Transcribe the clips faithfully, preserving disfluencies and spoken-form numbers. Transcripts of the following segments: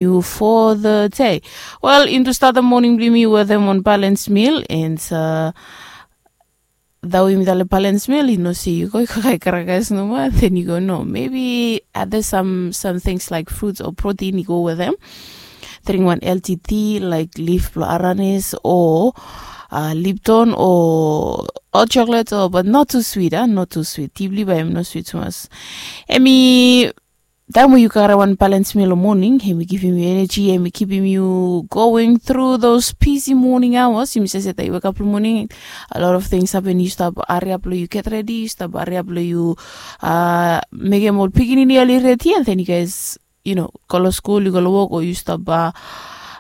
yu for the day. Wel, yumi tu statem moning blong yumi wetem wan balance meal and uh, that we mi tale balance meal, yu no se yu go yu kakae karakas nomo, then yu go no, maybe other some some things like fruits or protein yu go wetem. Drink wan healthy tea like leaf blong aranis or uh, lipton or hot chocolate or, but not too sweet, ah, not too sweet. Tea blong yu bae em no sweet tumas. Emi taem we yu kakae wan balance meal long moning, emi givim yu energy, emi kipim yu going through those busy morning hours. Yumi save se taem yu wekap long moning, a lot of things happen. Yu stap hariap long yu get ready, yu stap hariap long yu uh, mekem ol pikinini oli ready, and then you guys, you know, go long skul, yu go long wok, o yu stap uh,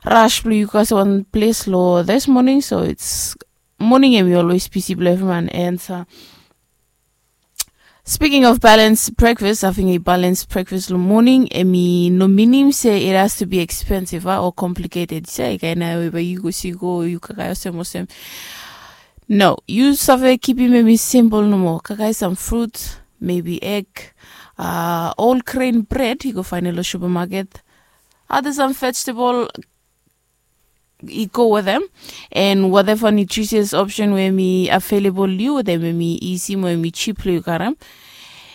rush blong yu go wan ples long this morning. So it's morning, emi always busy blong evriman. And uh, speaking of balance breakfast, having a balance breakfast long moning, emi no minim se it has to be expensive, ah, or complicated. Se kaen nao we bae yu go si go yu kakae olsem olsem. No, yu save kipim emi simple nomo. Kakae some fruit, maybe egg, uh, whole grain bread yu go faenem long supermarket. Other some vegetable, yu go wetem, and whatever nutritious option we emi available long yu, wetem emi isi mo emi cheap long yu karem.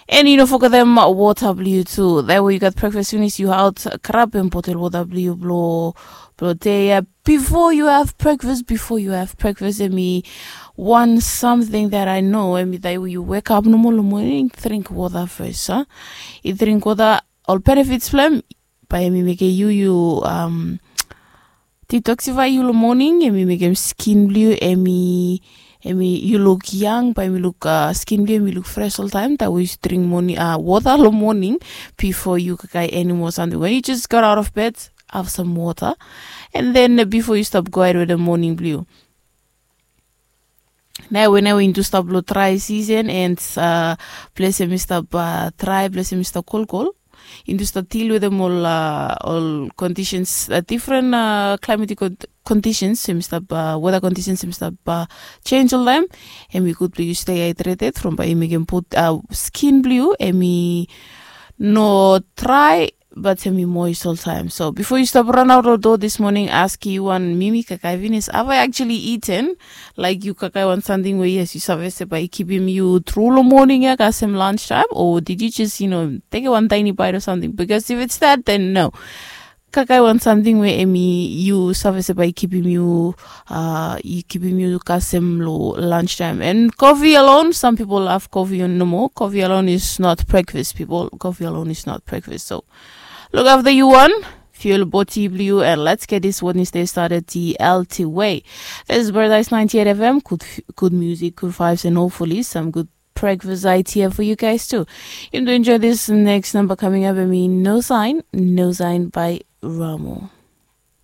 And yu no fogetem wota blong yu tu. That we yu gat breakfast finis, yu aot grabem botel wota blong yu blong blong dei ya. Before you have breakfast, before you have breakfast, emi wan something that I know, emi taem we yu wekap nomo long moning, drink wota fes, ah. Yu drink wota, ol benefits blong em, bae emi mekem yu yu um, detoxify yu long moning, emi mekem skin blong yu, emi emi yu luk yang, bae emi luk uh, skin blong yu emi luk fresh oltaem taem we yu drink moning uh, wota long moning before yu kakae eni moa samting. When you just got out of bed, have some wota, and then uh, before yu stap go ahed wetem moning blong yu. Nao we nao we yumi tu stap long dry season and uh, ples emi stap uh, dry, ples emi stap kolkol. Yumi tu stap deal wetem ol uh, ol conditions, uh, different uh, climatic con- conditions emi stap uh, weather conditions emi stap uh, change oltaem. Emi gud blong yu stay hydrated from bae yu mekem put uh, skin blong yu emi no dry, but emi moist oltaem. So before yu stap run out of door this morning, ask yu wan mimi kakae finis, have I actually eaten? Like yu kakae wan samting we yes yu save se bae yu kipim yu tru long moning ya kasem lunch time, or did you just, you know, take wan tiny bite or something? Because if it's that, then no. Kakae wan samting we emi yu save se bae yu kipim yu uh, yu kipim yu kasem long lunch time. And coffee alone, some people love coffee nomo. Coffee alone is not breakfast, people. Coffee alone is not breakfast. So look after yu wan, fuel body blong yu, and let's get this Wednesday started the healthy way. This is Paradise ninety-eight F M. Good, good music, good vibes, and hopefully some good breakfast idea for you guys too. Yumi tu enjoy this next number coming up. Emi No Sign, No Sign by Ramo.